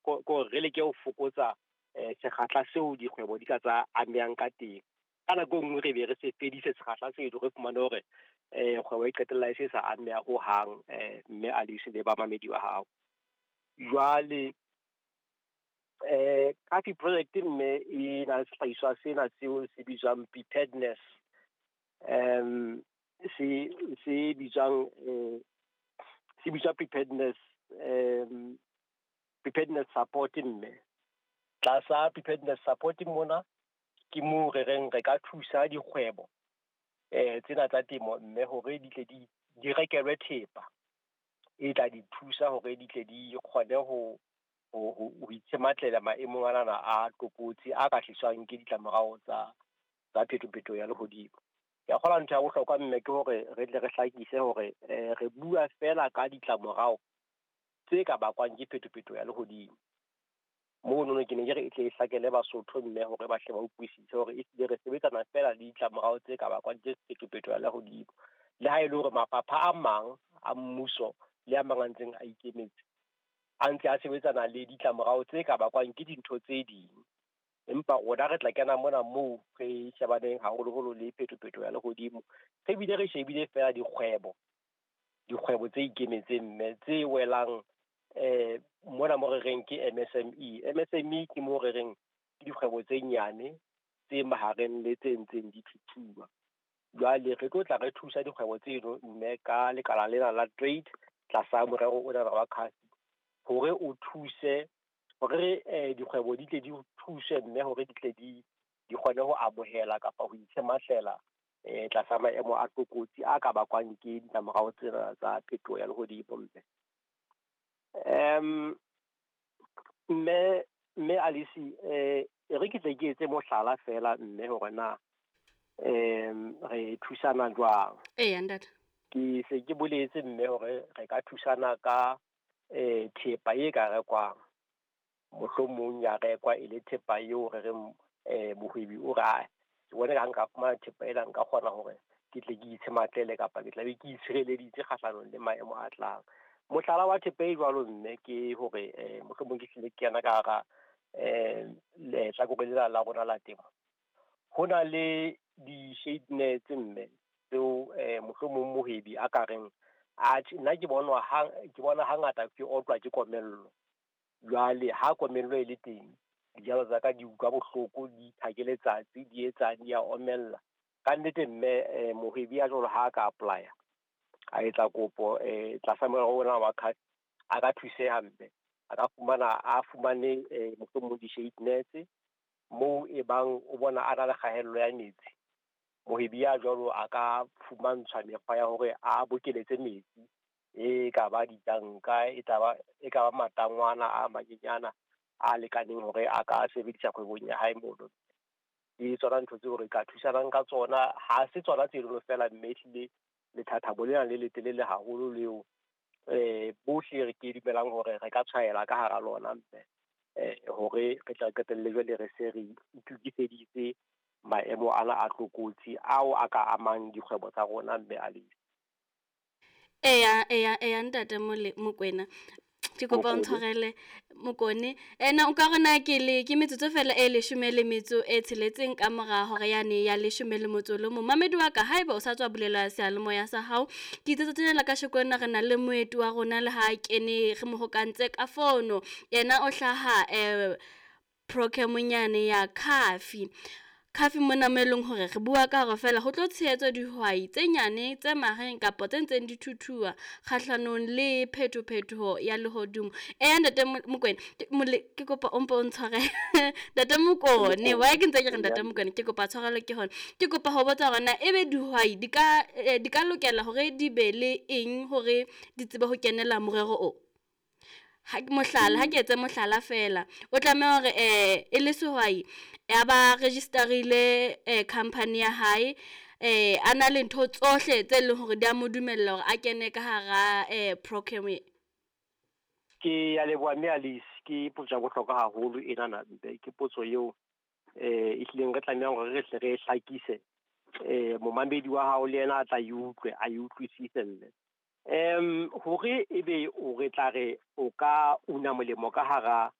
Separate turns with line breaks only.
Ko re leke ho fokotsa sekgahla seo dikgwebo di ka tsa amehang ka teng. Ka nako e nngwe re be re se fedise sekgahla seno, re fumane hore kgwebo e qetella e se sa ameha hohang, mme Alice le bamamedi ba hao. Jwale CAFI project mme e na le sehlahiswa sena seo se bitswang preparedness, se bitswang se bitswa preparedness, preparedness support mme. Tlasa preparedness support mona ke moo re reng re ka thusa dikgwebo tsena tsa temo mme hore di tle di rekelwe thepa e tla di thusa hore di tle di kgone ho itshematlela maemong anana a tlokotsi a ka tliswang ke ditlamorao tsa phetophetoho ya lehodimo. Ke a kgolwa ntho ya bohlokwa mme ke hore re tle re hlakise hore re bua feela ka ditlamorao tse ka bakwang ke phetophetoho ya lehodimo. Monono ke ne ke re e tle e hlakele Basotho mme hore ba hle ba utlwisise hore ehlile re sebetsana feela le ditlamorao tse ka bakwang ke phetophetoho ya lehodimo. Le ha e le hore mafapha a mang a mmuso le a mang a ntseng a ikemetse a ntse a sebetsana le ditlamorao tse ka bakwang ke dintho tse ding. Empa rona re tla kena mona moo re shebaneng haholoholo le phetophetoho ya lehodimo. Re bile re shebile feela dikgwebo tse ikemetseng mme tse welang mona mo re reng ke MSME. MSME ke mo re reng ke dikgwebo tse nyane tse mahareng le tse ntseng di thuthuha. Jwale re tlo tla re thusa dikgwebo tseno mme ka lekala lena la trade tlasa morero ona wa CAFI hore o thuse hore dikgwebo di tle di thuse mme hore di tle di kgone ho amohela kapa ho itshematlela tlasa maemo a tlokotsi a ka bakwang ke ditlamorao tsena tsa phetoho ya lehodimo mme. Mme Alice, e re ke tle ke etse mohlala feela mme hore na re thusana jwang.
Eya ntate.
Ke se ke boletse mme hore re ka thusana ka thepa e ka rekwang. Mohlomong ya rekwa e le thepa eo re reng mohwebi o re, ke bone ha nka fumana thepa ena nka kgona hore ke tle ke itshematlele kapa ke tla be ke itshireleditse kgahlanong le maemo a tlang. Mohlala wa thepa e jwalo mme ke hore mohlomong ke hlile ke kena ka hara lehlakore lena la rona la temo. Ho na le di-shade nets mme tseo mohlomong mohwebi a ka reng atjhe nna ke bonwa ke bona hangata ke otlwa ke komello. Jwale ha komello e le teng, dijalo tsa ka di utlwa bohloko, di ke letsatsi, di etsang, di a omella. Ka nnete mme mohwebi ya jwalo ha ka apply-a a etsa kopo tlasa morero ona wa CAFI, a ka thuseha mme a ka fumana a fumane mohlomong di-shade nets moo e bang o bona a na le kgaello ya metsi. Mohwebi ya jwalo a ka fumantshwa mekgwa ya hore a bokeletse metsi, e ka ba ditanka, e ka ba matangwana a manyenyana a lekaneng hore a ka sebedisa kgwebong ya hae mono. Ke tsona ntho tseo re ka thusanang ka tsona. Ha se tsona tseno feela mme ehlile lethathamo lena le letelele haholo leo bohle re ke dumelang hore re ka tshwaela ka hara lona mme hore re tla qetelle jwale re se re itokiseditse maemo ana a tlokotsi ao a ka amang dikgwebo tsa rona mme Alice.
Eya eya eya ntate Mokoena, ke kopa o ntshwarele Mokone. Ena o ka rona ke le ke metsotso fela e 16 ka mora hora yane ya 11. Mamedi wa ka, haeba o sa tswa bulela seyalemoya sa hao, ke itse tsatsing la kasheko lena re na le moeti wa rona le ha kene re mo hokantse ka fono. Yena o hlaha programmeng ya CAFI. CAFI mona mo e leng hore re bua ka hore feela ho tlo tshehetswa dihwai tse nyane tse mahareng kapa tse ntseng di thuthuha kgahlanong le phetophetoho ya lehodimo. Eya ntate Mokoena, ke kopa o mpo o ntshwarele. Ntate Mokone, why ke ntse ke re ntate Mokoena, ke kopa tshwarelo ke hona. Ke kopa ho botsa hore na ebe dihwai di ka lokela hore di be le eng hore di tsebe ho kenela morero o? Mohlala, ha ke etse mohlala fela, o tlameha hore e le sehwai ya ba register-ile company ya hae, a na le ntho tsohle tse leng hore di a mo dumella hore a kene ka hara program.
Ke ya leboha mme Alice, ke potso ya bohlokwa haholo enana mpe, ke potso eo e hlileng re tlamehang hore re hle re hlakise, momamedi wa hao le yena a tla e utlwe, a e utlwisise mme. Hore ebe o re tla re o ka una molemo ka hara